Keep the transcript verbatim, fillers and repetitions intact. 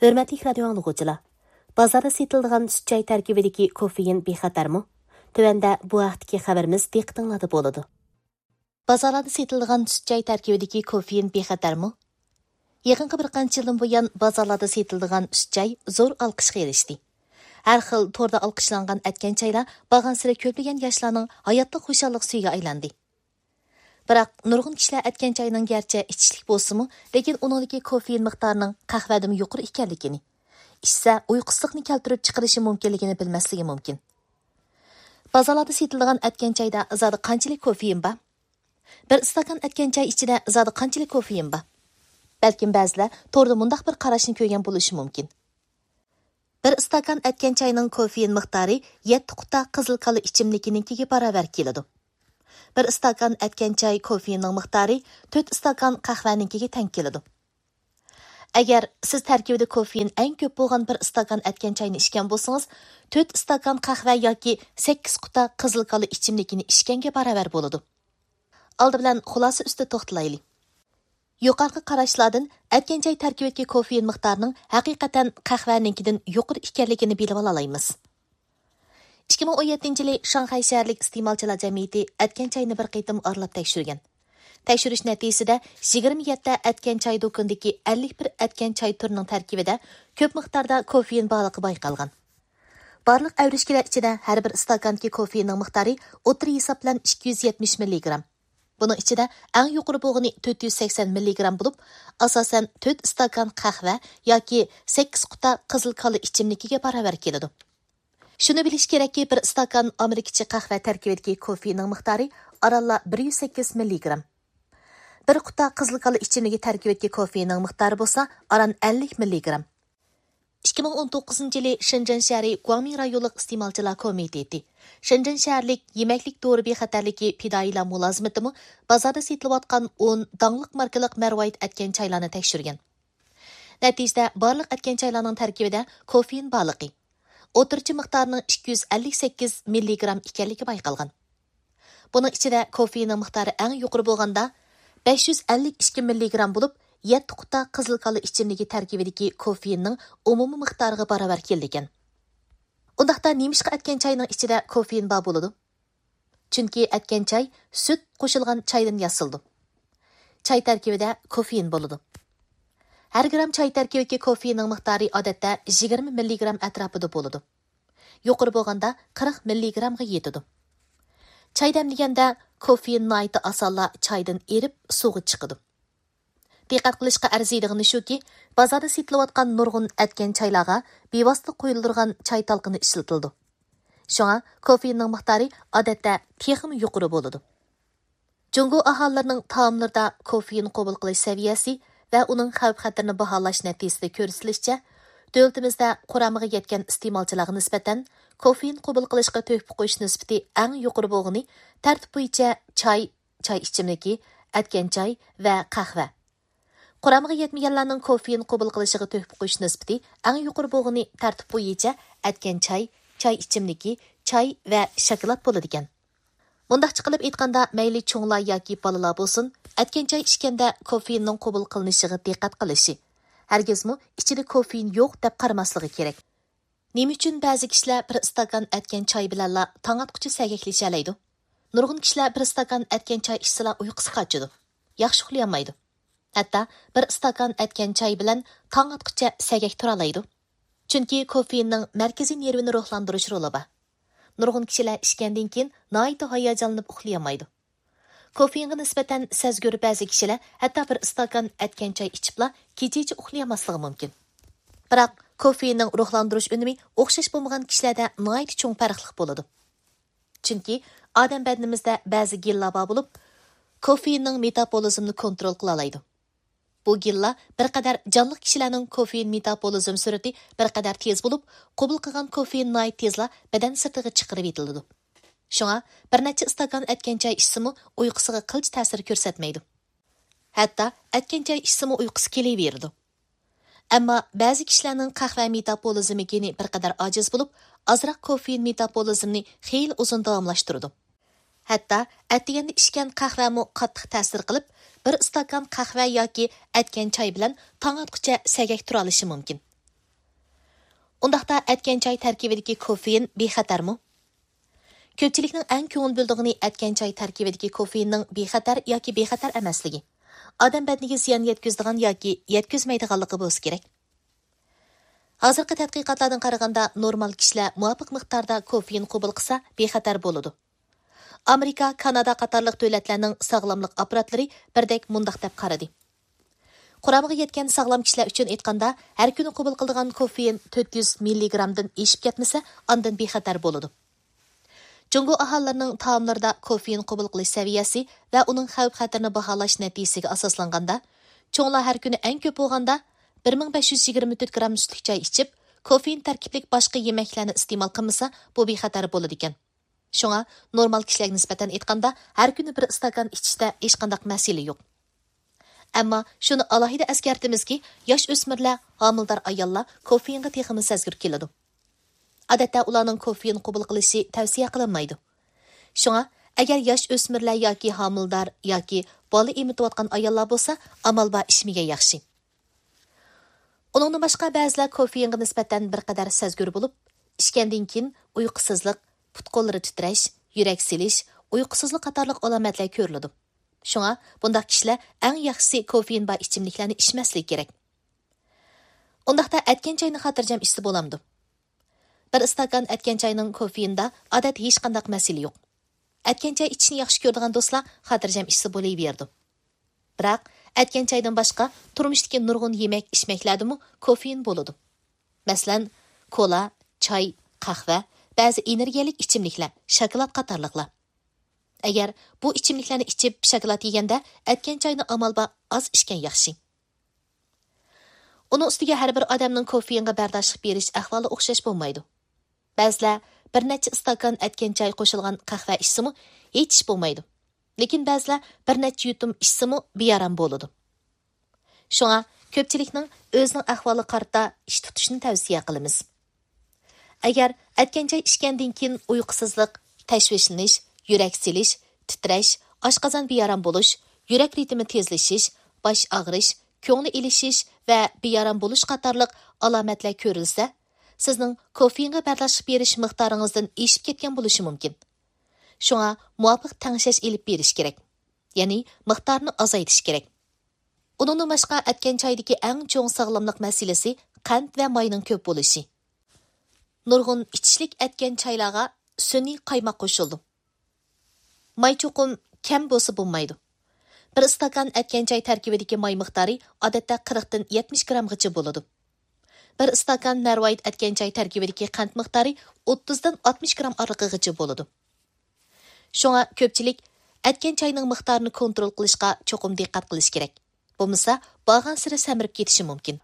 ھۆرمەتلىك رادىيو ئاڭلىغۇچىلار، بازاردا سېتىلىدىغان سۈت چاي تەركىبىدىكى كوفېئىن بىخەتەرمۇ؟ تۆۋەندە بۇ ھەقتىكى خەۋىرىمىز دىققىتىڭلاردا بولىدۇ. بازارلاردا سېتىلىدىغان سۈت چاي تەركىبىدىكى كوفېئىن بىخەتەرمۇ؟ يېقىنقى بىر قانچە يىلدىن بۇيان بازارلاردا سېتىلىدىغان سۈت چاي زور ئالقىشقا ئېرىشتى. ھەر خىل توردا ئالقىشلانغان ئەتكەن چايلار بارغانسېرى كۆپلىگەن ياشلارنىڭ ھاياتلىق خۇشاللىق سۈيىگە ئايلاندى. بىراق، نۇرغۇن كىشىلەر ئەتكەن چاينىڭ گەرچە ئىچىشلىك بولسىمۇ، لېكىن ئۇنىڭدىكى كوفېئىن مىقدارىنىڭ قەھۋەدىنمۇ يۇقىرى ئىكەنلىكىنى، ئىچسە ئۇيقۇسىزلىقنى كەلتۈرۈپ چىقىرىشى مۇمكىنلىكىنى بىلمەسلىكى مۇمكىن. بازارلاردا سېتىلىدىغان ئەتكەن چايدا زادى قانچىلىك كوفېئىن بار؟ بىر ئىستاكان ئەتكەن چاي ئىچىدە زادى قانچىلىك كوفېئىن بار؟ بەلكىم بەزىلەر توردا مۇنداق بىر قاراشنى كۆرگەن بولۇشى مۇمكىن. بىر ئىستاكان ئەتكەن چاينىڭ كوفېئىن مىقدارى يەتتە قۇتا قىزىل كالا ئىچىملىكىنىڭكىگە باراۋەر كېلىدۇ. بىر ئىستاكان ئەتكەن چاي كوفېئىننىڭ مىقدارى تۆت ئىستاكان قەھۋەنىڭكىگە تەڭ كېلىدۇ. ئەگەر سىز تەركىبىدە كوفېئىن ئەڭ كۆپ بولغان بىر ئىستاكان ئەتكەن چاينى ئىچكەن بولسىڭىز، تۆت ئىستاكان قەھۋە ياكى سەككىز قۇتا قىزىل كالا ئىچىملىكىنى ئىچكەنگە باراۋەر بولىدۇ. ئالدى بىلەن خۇلاسە ئۈستىدە توختىلايلى. يۇقىرىقى قاراشلاردىن ئەتكەن چاي تەركىبىدىكى كوفېئىن مىقدارىنىڭ ھەقىقەتەن قەھۋەنىڭكىدىن يۇقىرى ئىكەنلىكىنى بىلىۋالالايمىز. ئىككى مىڭ ئون يەتتىنچى يىلى شاڭخەي شەھەرلىك ئىستېمالچىلار جەمئىيىتى ئەتكەن چاينى بىر قېتىم ئارىلاپ تەكشۈرگەن. تەكشۈرۈش نەتىجىسىدە، يىگىرمە يەتتە ئەتكەن چاي دۇكىنىدىكى ئەللىك بىر ئەتكەن چاي تۈرىنىڭ تەركىبىدە كۆپ مىقداردا كوفېئىن بارلىقى بايقالغان. بارلىق ئەۋرىشكىلەر ئىچىدە ھەر بىر ئىستاكاندىكى كوفېئىننىڭ مىقدارى ئوتتۇرا ھېساب بىلەن ئىككى يۈز يەتمىش مىللىگرام. بۇنىڭ ئىچىدە ئەڭ يۇقىرى بولغىنى تۆت يۈز سەكسەن مىللىگرام بولۇپ، ئاساسەن تۆت ئىستاكان قەھۋە ياكى سەككىز قۇتا قىزىل كالا ئىچىملىكىگە باراۋەر كېلىدۇ. شۇنى بىلىش كېرەككى، بىر ئىستاكان ئامېرىكىچە قەھۋە تەركىبىدىكى كوفېئىننىڭ مىقدارى ئارانلا بىر يۈز سەككىز مىللىگرام. بىر قۇتا قىزىل كالا ئىچىملىكى تەركىبىدىكى كوفېئىننىڭ مىقدارى بولسا ئاران ئەللىك مىللىگرام. ئىككى مىڭ ئون توققۇزىنچى يىلى شېنجېن شەھىرى گۇاڭمىڭ رايونلۇق ئىستېمالچىلار كومىتېتى، شېنجېن شەھەرلىك يېمەكلىك دورا بىخەتەرلىكى پىدائىيلار مۇلازىمىتىمۇ بازاردا سېتىلىۋاتقان ئون داڭلىق ماركىلىق مەرۋايىت ئەتكەن چايلارنى تەكشۈرگەن. نەتىجىدە، بارلىق ئەتكەن چايلارنىڭ تەركىبىدە كوفېئىن بارلىقى، ئوتتۇرىچە مىقدارىنىڭ ئىككى يۈز ئەللىك سەككىز مىللىگرام ئىكەنلىكى بايقالغان. بۇنىڭ ئىچىدە كوفېئىننىڭ مىقدارى ئەڭ يۇقىرى بولغاندا، بەش يۈز ئەللىك ئىككى مىللىگرام بولۇپ، يەتتە قۇتا قىزىل كالا ئىچىملىكى تەركىبىدىكى كوفېئىننىڭ ئومۇمىي مىقدارىغا باراۋەر كېلىدىكەن. ئۇنداقتا نېمىشقا ئەتكەن چاينىڭ ئىچىدە كوفېئىن بار بولىدۇ؟ چۈنكى ئەتكەن چاي سۈت قوشۇلغان چايدىن ياسىلىدۇ. چاي تەركىبىدە كوفېئىن بولىدۇ. ھەر گرام چاي تەركىبىدىكى كوفېئىننىڭ مىقدارى ئادەتتە يىگىرمە مىللىگرام ئەتراپىدا بولىدۇ. يۇقىرى بولغاندا قىرىق مىللىگرامغا يېتىدۇ. چاي دەملىگەندە كوفېئىن ناھايىتى ئاسانلا چايدىن ئېرىپ سۇغا چىقىدۇ. دىققەت قىلىشقا ئەرزىيدىغىنى شۇكى، بازاردا سېتىلىۋاتقان نۇرغۇن ئەتكەن چايلارغا بىۋاسىتە قۇيۇلىدىغان چاي تالقىنى ئىشلىتىلىدۇ. شۇڭا كوفېئىننىڭ مىقدارى ئادەتتە تېخىمۇ يۇقىرى بولىدۇ. جۇڭگو ئاھالىلىرىنىڭ تائاملىرىدا كوفېئىن قوبۇل قىلىش سەۋىيەسى ۋە ئۇنىڭ خەۋپ-خەتىرىنى باھالاش نەتىجىسىدە كۆرسىتىلىشىچە، دۆلىتىمىزدە قۇرامىغا يەتكەن ئىستېمالچىلارغا نىسبەتەن كوفېئىن قوبۇل قىلىشقا تۆھپە قوشۇش نىسبىتى ئەڭ يۇقىرى بولغىنى تەرتىپ بويىچە چاي، چاي ئىچىملىكى، ئەتكەن چاي ۋە قەھۋە. قۇرامىغا يەتمىگەنلەرنىڭ كوفېئىن قوبۇل قىلىشىغا تۆھپە قوشۇش نىسبىتى ئەڭ يۇقىرى بولغىنى تەرتىپ بويىچە ئەتكەن چاي، چاي ئىچىملىكى، چاي ۋە شاكىلات بولىدىكەن. مۇنداقچە قىلىپ ئېيتقاندا، مەيلى چوڭلار ياكى بالىلار بولسۇن، ئەتكەن چاي ئىچكەندە كوفېئىننىڭ قوبۇل قىلىنىشىغا دىققەت قىلىشى، ھەرگىزمۇ ئىچىدە كوفېئىن يوق دەپ قارىماسلىقى كېرەك. نېمە ئۈچۈن بەزى كىشىلەر بىر ئىستاكان ئەتكەن چاي بىلەنلا تاڭ ئاتقۇچە سەگەكلىشەلەيدۇ؟ نۇرغۇن كىشىلەر بىر ئىستاكان ئەتكەن چاي ئىچسىلا ئۇيقۇسى قاچىدۇ، ياخشى ئۇخلىيالمايدۇ. ھەتتا بىر ئىستاكان ئەتكەن چاي بىلەن تاڭ ئاتقۇچە سەگەك تۇرالايدۇ. چۈنكى كوفېئىننىڭ مەركىزىي نېرۋىنى روھلاندۇرۇش رولى بار. نۇرغۇن كىشىلەر ئىچكەندىن كېيىن ناھايىتى ھاياجانلىنىپ ئۇخلىيالمايدۇ. كوفېئىنغا نىسبەتەن سەزگۈر بەزى كىشىلەر ھەتتا بىر ئىستاكان ئەتكەن چاي ئىچىپلا كېچىچە ئۇخلىيالماسلىقى مۇمكىن. بىراق، كوفېئىننىڭ روھلاندۇرۇش ئۈنۈمى ئوخشاش بولمىغان كىشىلەردە ناھايىتى چوڭ پەرقلىق بولىدۇ. چۈنكى ئادەم بەدىنىمىزدە بەزى گېنلار بار بولۇپ، كوفېئىننىڭ مېتابولىزمنى كونترول قىلالايدۇ. بۇ گېنلار بىر قەدەر جانلىق كىشىلەرنىڭ كوفېئىن مېتابولىزم سۈرئىتى بىر قەدەر تېز بولۇپ، قوبۇل قىلغان كوفېئىن ناھايىتى تېزلا بەدەن سىرتىغا چىقىرىۋېتىلىدۇ. شۇڭا بىر نەچچە ئىستاكان ئەتكەن چاي ئىچسىمۇ ئۇيقۇسىغا قىلچە تەسىر كۆرسەتمەيدۇ. ھەتتا ئەتكەن چاي ئىچسىمۇ ئۇيقۇسى كېلىۋېرىدۇ. ئەمما بەزى كىشىلەرنىڭ قەھۋە مېتابولىزمى گېنى بىر قەدەر ئاجىز بولۇپ، ئازراق كوفېئىن مېتابولىزمنى خېلى ئۇزۇن داۋاملاشتۇرىدۇ. ھەتتا ئەتىگەندە ئىچكەن قەھۋەمۇ قاتتىق تەسىر قىلىپ، بىر ئىستاكان قەھۋە ياكى ئەتكەن چاي بىلەن تاڭ ئاتقۇچە سەگەك تۇرالىشى مۇمكىن. ئۇنداقتا ئەتكەن چاي تەركىبىدىكى كوفېئىن بىخەتەرمۇ؟ كۆپچىلىكنىڭ ئەڭ كۆڭۈل بۆلىدىغىنى ئەتكەن چاي تەركىبىدىكى كوفېئىننىڭ بىخەتەر ياكى بىخەتەر ئەمەسلىكى. ئادەم بەدىنىگە زىيان يەتكۈزىدىغان ياكى يەتكۈزمەيدىغانلىقى بولسا كېرەك. ھازىرقى تەتقىقاتلاردىن قارىغاندا، نورمال كىشىلەر مۇۋاپىق مىقداردا كوفېئىن قوبۇل قىلسا، بىخەتەر بولىدۇ. ئامېرىكا، كانادا قاتارلىق دۆلەتلەرنىڭ ساغلاملىق ئاپپاراتلىرى بىردەك مۇنداق دەپ قارىدى: قۇرامىغا يەتكەن ساغلام كىشىلەر ئۈچۈن ئېيتقاندا، ھەر كۈنى قوبۇل قىلىدىغان كوفېئىن تۆت يۈز مىللىگرامدىن ئېشىپ كەتمىسە، ئاندىن بىخەتەر بولىدۇ. جۇڭگو ئاھالىلىرىنىڭ تائاملىرىدا كوفېئىن قوبۇل قىلىش سەۋىيەسى ۋە ئۇنىڭ خەۋپ-خەتىرىنى باھالاش نەتىجىسىگە ئاساسلانغاندا، چوڭلار ھەر كۈنى ئەڭ كۆپ بولغاندا بىر مىڭ بەش يۈز يىگىرمە تۆت گرام سۈتلۈك چاي ئىچىپ، كوفېئىن تەركىبلىك باشقا يېمەكلەرنى ئىستېمال قىلمىسا، بۇ بىخەتەر بولىدىكەن. شۇڭا نورمال كىشىلەرگە نىسبەتەن ئېيتقاندا، ھەر كۈنى بىر ئىستاكان ئىچىشتە ھېچقانداق مەسىلە يوق. ئەمما شۇنى ئالاھىدە ئەسكەرتىمىزكى، ياش ئۆسمۈرلەر، ھامىلىدار ئاياللار كوفېئىنغا تېخىمۇ سەزگۈر كېلىدۇ. ئادەتتە ئۇلارنىڭ كوفېئىن قوبۇل قىلىشى تەۋسىيە قىلىنمايدۇ. شۇڭا، ئەگەر ياش ئۆسمۈرلەر ياكى ھامىلىدار ياكى بالا ئېمىتىۋاتقان ئاياللار بولسا، ئامال بار ئىچمىگەن ياخشى. ئۇنىڭدىن باشقا، بەزىلەر كوفېئىنغا نىسبەتەن بىر قەدەر سەزگۈر بولۇپ، ئىچكەندىن كېيىن ئۇيقۇسىزلىق، پۇت-قوللىرى تىترەش، يۈرەك سېلىش، ئۇيقۇسىزلىق قاتارلىق ئالامەتلەر كۆرۈلىدۇ. شۇڭا، بۇنداق كىشىلەر ئەڭ ياخشىسى كوفېئىن بار ئىچىملىكلەرنى ئىچمەسلىكى كېرەك. ئۇنداقتا ئەتكەن چاينى خاتىرجەم ئىچسە بولامدۇ؟ بىر ئىستاكان ئەتكەن چاينىڭ كوفېئىندا ئادەتتە ھېچقانداق مەسىلە يوق. ئەتكەن چاي ئىچىشنى ياخشى كۆرىدىغان دوستلار خاتىرجەم ئىچسە بولۇۋېرىدۇ. بىراق، ئەتكەن چايدىن باشقا تۇرمۇشتىكى نۇرغۇن يېمەك-ئىچمەكلەردىمۇ كوفېئىن بولىدۇ. مەسىلەن، كولا، چاي، قەھۋە، بەزى ئېنېرگىيەلىك ئىچىملىكلەر، شاكىلات قاتارلىقلار. ئەگەر بۇ ئىچىملىكلەرنى ئىچىپ، شاكىلات يېگەندە، ئەتكەن چاينى ئامال بار ئاز ئىچكەن ياخشى. ئۇنىڭ ئۈستىگە ھەر بىر ئادەمنىڭ كوفېئىنغا بەرداشلىق بېرىش ئەھۋالى ئوخشاش بولمايدۇ. بەزىلەر بىر نەچچە ئىستاكان ئەتكەن چاي قوشۇلغان قەھۋە ئىچسىمۇ ھېچ ئىش بولمايدۇ. لېكىن بەزىلەر بىر نەچچە يۇتۇم ئىچسىمۇ بىئارام بولىدۇ. شۇڭا كۆپچىلىكنىڭ ئۆزىنىڭ ئەھۋالىغا قارىتا ئىش تۇتۇشىنى تەۋسىيە قىلىمىز. ئەگەر ئەتكەن چاي ئىچكەندىن كېيىن ئۇيقۇسىزلىق، تەشۋىشلىنىش، يۈرەك سېلىش، تىترەش، ئاشقازان بىئارام بولۇش، يۈرەك رىتىمى تېزلىشىش، باش ئاغرىش، كۆڭلى ئېلىشىش ۋە بىئارام بولۇش قاتارلىق ئالامەتلەر كۆرۈلسە، سىزنىڭ كوفېئىنغا بەرداشلىق بېرىش مىقدارىڭىزدىن ئېشىپ كەتكەن بولۇشى مۇمكىن. شۇڭا مۇۋاپىق تەڭشەش ئېلىپ بېرىش كېرەك. يەنى مىقدارنى ئازايتىش كېرەك. ئۇنىڭدىن باشقا، ئەتكەن چايدىكى ئەڭ چوڭ ساغلاملىق مەسىلىسى قەنت ۋە ماينىڭ كۆپ بولۇشى. نۇرغۇن ئىچىشلىك ئەتكەن چايلارغا سۈنئىي قايماق قوشۇلىدۇ. ماي چوقۇم كەم بولسا بولمايدۇ. بىر ئىستاكان ئەتكەن چاي تەركىبىدىكى ماي مىقدارى ئادەتتە قىرىقتىن يەتمىش گرامغىچە بولىدۇ. بىر ئىستاكان مەرۋايىت ئەتكەن چاي تەركىبىدىكى قەنت مىقدارى ئوتتۇزدىن ئاتمىش گرام ئارىلىقىغىچە بولىدۇ. شۇڭا كۆپچىلىك ئەتكەن چاينىڭ مىقدارىنى كونترول قىلىشقا چوقۇم دىققەت قىلىش كېرەك. بولمىسا، بارغانسېرى سەمرىپ كېتىشى مۇمكىن.